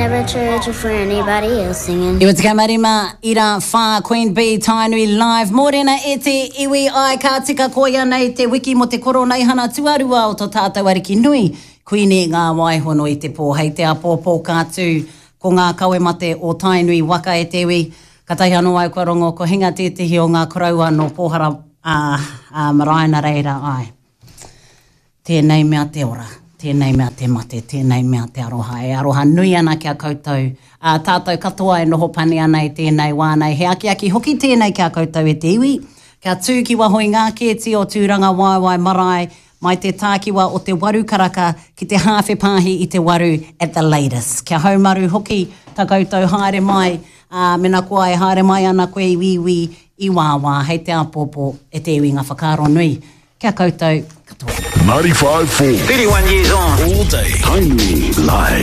never church for anybody else singing. 95 ira wha Queen Bee Tainui Live Mōrena e te iwi ai ka tika koia nei te wiki mo te koroneihana tuarua o to tātou ariki nui Kuini Ngā Waihono i te pō hei te apōpō ka tū ko ngā kawe mate o Tainui waka e te iwi Katahi anō au kua rongo ko hinga tētehi o ngā koroua nō Pōhara ā, ā, marae na reira ai. Tēnei mea te ora, tēnei mea te mate, tēnei mea te aroha. E aroha nui ana ki a koutou, ā, tātou katoa e noho pani ana i tēnei wā nei. He akiaki hoki tēnei ki a koutou e te iwi, kia tū ki waho i ngā kēti o Tūrangawaewae marae, mai te tākiwa o te waru karaka ki te hāwhe pāhi i te waru at the latest. Kia haumaru hoki ta koutou haere mai, ā, mena koa e haere mai ana koe i wīwī, i wāwā, hei te āpōpō e te iwi ngā whakaaro nui ki a koutou katoa. 95.4. 31 years on. All day. Tainui Live.